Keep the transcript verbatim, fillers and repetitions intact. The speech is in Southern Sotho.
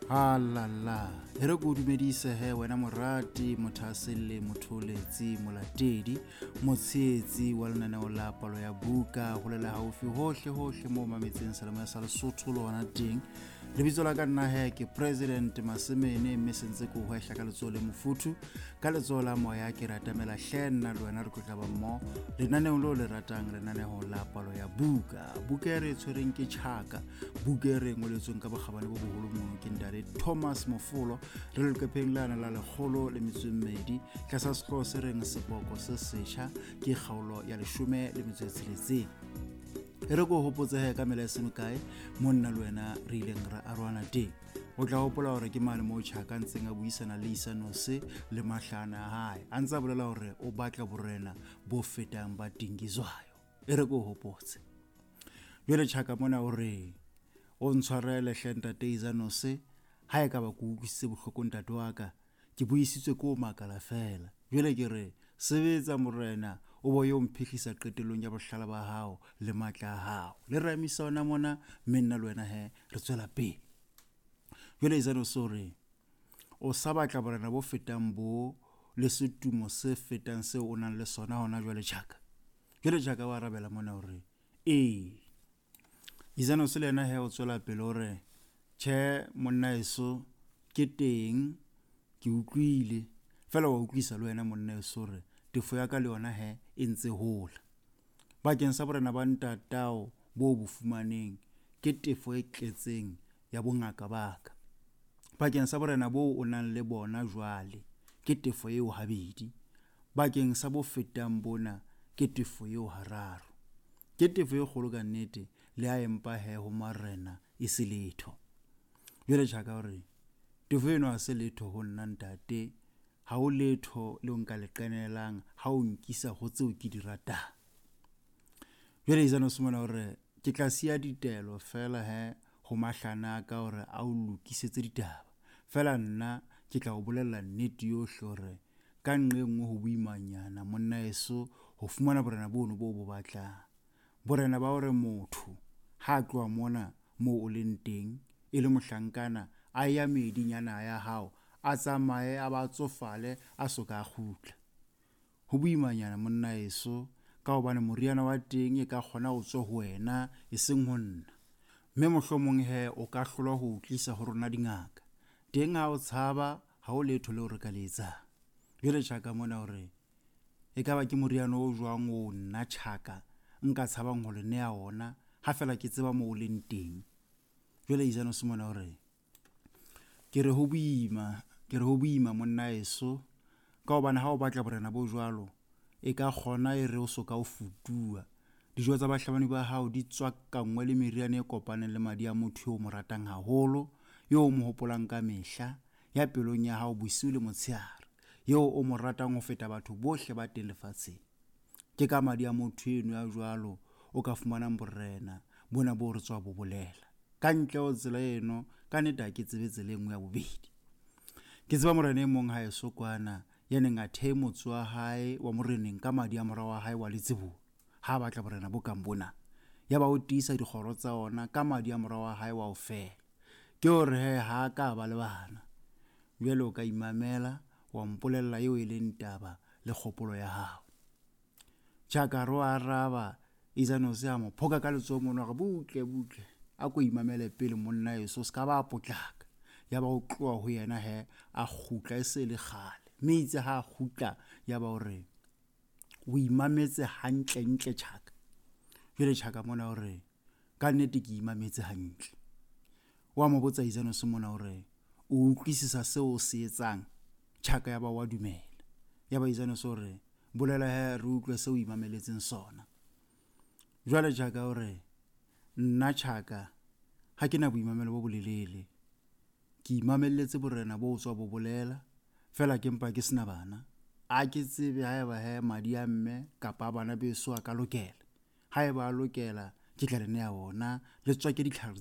Halala, e re ko dumedise he wena morati, mothaselle, motholetsi, molatedi, motshehetsi wa lenaneo la palo ya buka, holela haufi hohle hohle moo mametseng selemo sa Lesotho le hona teng. Lebitso la ka nna he ke President Masemene, mme sentse ke hwehla ka letsoho le mofuthu, ka letsoho la moya ke ratamela hle nna le wena re tlo tla ba mmoho lenaneong leo le ratang, lenaneo la palo ya buka. Buka e re e tshwereng ke Tjhaka, buka e re ngoletsweng ka bokgabane bo boholo mono ke ntate Thomas Mofolo, re leqepheng lana la lekgolo le metso e mmedi tlasa sehlooho se reng Seboko se setjha, ke kgaolo ya leshome le metso e tsheletseng. E re ko hopotse he ka mela e se mekae mo nna le wena re ileng ra arohana teng. O tla hopola hore ke mane moo Tjhaka ntseng a buisana le Isanose le mahlana a hae, a ntse a bolela hore o batla borena bo fetang ba Dingizwayo. E re ko hopotse. Jwale Tjhaka mona o re o ntshwarele hle ntate Isanose, ha e ka ba ke utlwisitse bohloko ntate wa ka, ke buisitswe ke o makala fela. Jwale ke re sebetsa morena, o bo yo mphihlisa qetellong ya bohlala ba hao le matla a hao. Le re emisa ona mona, mme nna le wena he re tswela pele. Jwale Isanose o re o sa batla borena bo fetang bo le setumo se fetang seo o nang le sona hona jwale Tjhaka. Jwale Tjhaka wa arabela mona hore ee. Isanose le yena he o tswela pele hore tjhe monna eso ke teng, ke utlwile fela wa utlwisa le wena monna eso hore tefo ya ka le yona he e ntse hola. Bakeng sa borena ba ntatao bo bo fumaneng ke tefo e tletseng ya bongaka ba ka. Bakeng sa borena bo o nang le bona jwale ke tefo eo habedi. Bakeng sa bo fetang bona ke tefo eo hararo. Ke tefo e kgolo ka nnete, le ha empa he ho marena e se letho. Jwale Tjhaka hore tefo eno ha se letho ho nna ntate, ha o letho leo nka le qenelang ha o nkisa ho tseo ke di ratang. Jwale Isanose mona hore ke tla siya ditaelo fela he ho mahlana a ka hore a o lokisetse ditaba. Fela nna ke tla o bolella nnete yohle hore ka nqe nngwe ho boimanyana monna eso ho fumana borena bono bo bo batlang. Borena ba hore motho ha a tloha mona moo o leng teng e le mohlankana a ya meeding ya naha ya hao, a tsamaye a ba tsofale a soka a kgutla. Ho boimanyana monna eso ka hobane moriana wa teng e ka kgona ho tswa ho wena e seng ho nna. Mme mohlomong he o ka hlolwa ho o tlisa ho rona dingaka. Teng ha o tshaba ha o letho leo re ka le etsang. Jwale Tjhaka mona hore e ka ba ke moriana o jwang o nna Tjhaka nka tshabang ho le neha ona ha fela ke tseba moo o leng teng. Jwale Isanose mona hore ke re ho boima, ke re ho boima monna eso ka hobane ha o batla borena bo jwalo e ka kgona e re o soka o futuwa. Dijo tsa bahlabani ba hao di tswakangwe le meriana e kopaneng le madi a motho eo o mo ratang haholo, eo o mo hopolang ka mehla, ya pelong ya hao bosiu le motshehare, eo o mo ratang ho feta batho bohle ba teng lefatsheng. Ke ka madi a motho eno ya jwalo o ka fumanang borena bona bo re tswa bo bolela. Ka ntle ho tsela eno, ka nnete ha ke tsebe tsela e nngwe ya bobedi. Ke tseba morena e mong ha eso kwana ya neng a thehe motse wa hae wa moreneng ka madi a mora wa hae wa letsibolo ha a batla borena bo kang bona. Ya ba o tiisa dikgoro tsa ona ka madi a mora wa hae wa ho fela. Ke hore he ha a ka ba le bana. Jwale o ka imamela wa mpolella eo e leng taba le kgopolo ya hao. Tjhaka ro araba, Isanose a mo phoka ka letsoho mono hore butle butle a ko imamele pele monna eso se ka ba potlaka. Ya ba o tloha ho yena he a kgutla e se le kgale. Mme itse ha a kgutla ya ba hore o imametse hantle ntle Tjhaka. Jwale Tjhaka mona hore ka nnete ke imametse hantle. Wa mo botsa Isanose mona hore o utlwisisa seo o se etsang. Tjhaka ya ba wa dumela. Ya ba Isanose hore bolela he re utlwe seo o imameletseng sona. Jwale Tjhaka hore nna Tjhaka ha ke na boimamelo bo bolelele. Ke imamelletse borena bo tswa bo bolela fela ke mpa ke sena bana. A ke tsebe haeba he madi a mme kapa bana beso a ka lokela. Haeba a lokela ke tla le neha ona le tswake ditlhare